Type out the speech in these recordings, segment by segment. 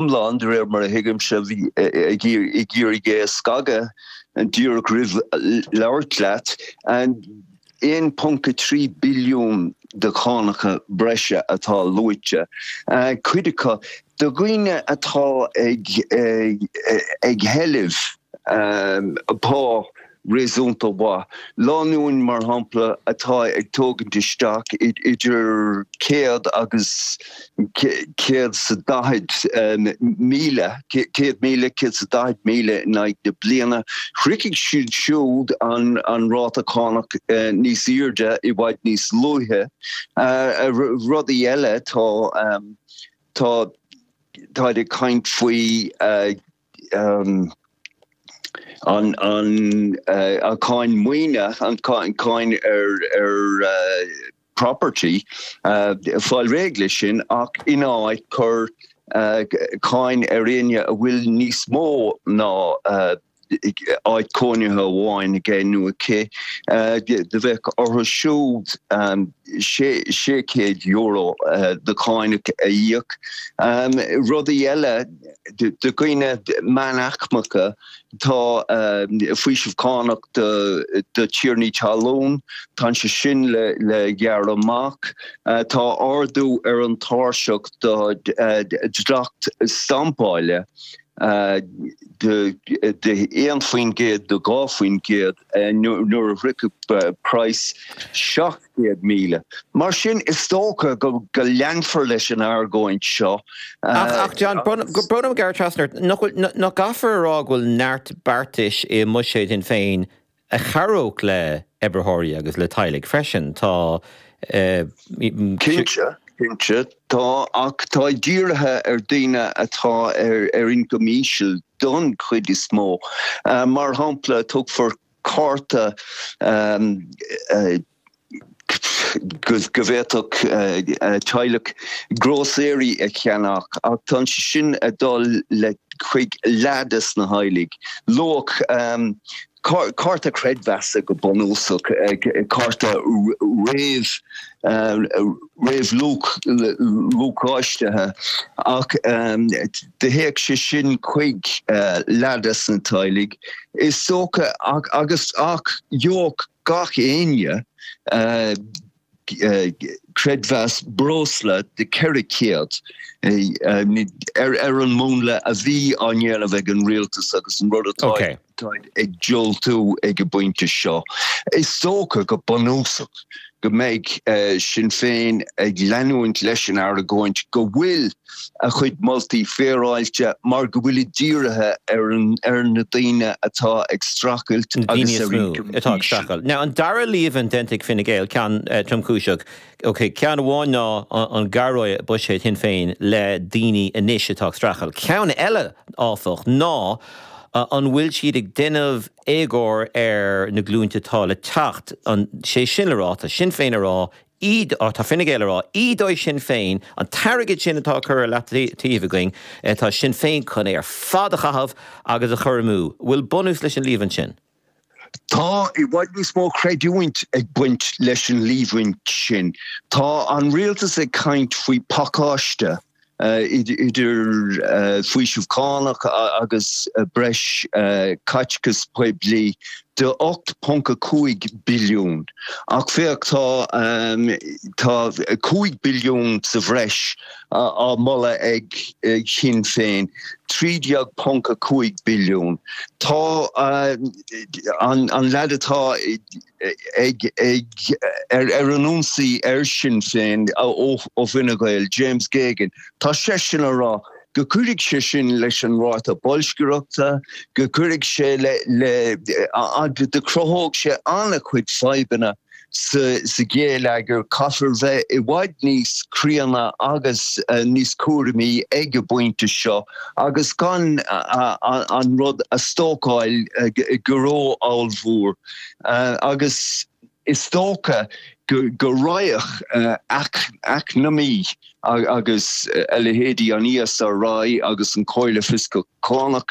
iomlán, de réir mar a thuigimse, bhí ag iarraidh é a scagadh díreach roimh labhairt leat, 1.3 billiún de chánacha breise atá luaite, cuid acu do dhaoine atá ag éileamh pá réasúnta mhaith. Lánúin, mar shampla, atá ag tógaint isteach idir 100 agus 140,000, 100,000, 140,000 in aghaidh na bliana, shroichfidh siad siúd an ráta cánach níos airde i bhfad níos luaithe. Rudaí eile, tá, tá, táid ag caint faoi, an cháin maoine, an cháin ar property, fáil réidh leis sin ach ina áit cur cáin ar éinne a bhfuil níos mó ná áit cónaithe amháin aige nó aici, do bheadh orthu siúd €600 de cháin a íoc. Rudaí eile. Do dhaoine meánaicmeacha, tá faoiseamh cánach do thiarnaí talún, tá sé sin le gearradh amach. Tá ardú ar an tairseach do dhleacht stampáile de 1% go 2% nuair a shroichfidh praghas 700,000. Mar sin, is dócha go leanfar leis an argóint seo. Ach, John, brón orm gearradh trasna ort, nach bhfuil, nach gcaithfear a rá go bhfuil neart beartais i mbuiséad Shinn Féin a chabhródh le oibritheoirí agus le teaghlaigh freisin? Tá. Cinnte, cinnte, tá, ach tá dírithe ar daoine atá ar ioncam íseal don chuid is mó. Mar shampla, tugfar cárta go bhféadfadh teaghlach grósaeirí a cheannach ach tá sé sin ag dul le chuig leath des na theaghlaigh. Luach cárta creidmheasa go bunúsach, cárta réamh réamhluacháistithe ach do théadh sé sin chuig leath des na teaghlaigh is dócha agus ach gheobhadh gach éinne creidmheas breosla de 400 ar an múnla a bhí á ndéanamh ag an rialtas agus an rud atá ag diúltú ag an bpointe seo. Is dócha go bunúsach go mbeidh Sinn Féin ag leanúint leis an argóint go bhfuil a chuid moltaí féaráilte mar go bhfuilid dírithe ar na daoine atá ag streachailt agus ar ioncam atá ag streachailt. Now an dara líomhain déanta ag Fine Gael, ceann tromchúiseach, ok, ceann amháin ná an gcabhróidh buiséad Shinn Féin le daoine anois atá ag streachailt. Ceann eile, áfach, ná an bhfuil siad ag déanamh éagóir ar na glúinte atá le teacht, an, sé sin le rá, tá Sinn Féin ag rá, íd, tá Fine Gael ag rá, ídeoidh Sinn Féin an t-airgead sin atá curtha ar leataobh againn, tá Sinn Féin chun é ar fad a chaitheamh agus a chur amú. Bhfuil bunús leis an líomhain sin? Tá i bhfad níos mó creidiúint ag baint leis an líomhaint sin. Tá an rialtas ag caint faoi phacáiste idir faoiseamh cánach agus breis caiteachas poiblí de 8.5 billiún. Ach féach, tá tá 5 billiún sa bhreis á moladh ag Sinn Féin, 13.5 billiún. Tá an leaid atá ag ag ar an ionsaí ar Sinn Féin ó Fhine Gael, James Geoghegan, tá seisean ag rá go gcuirfidh sé sin leis an ráta boilscireachta, go gcuirfidh sé le le go cruthóidh sé an-chuid fadhbanna sa ghéilleagar, caithfear bheith i bhfad níos críonna agus níos cúramaí ag an bpointe seo agus gan an rud a stócáil go ró-ollmhór. Agus is dócha go raghadh eacnamaí agus a leithéidí an ESRI agus an Comhairle Fioscach Cánach,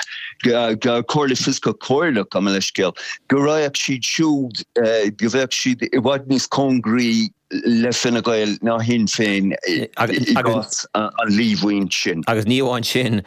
Comhairle Fioscach Comhairleach, gabh mo leithscéal, go raghadh siad siúd, go bheadh siad i bhfad níos cóngaraí. le Fine Gael ná Shinn Féin i gcás an líomhain sin. Agus ní amháin sin.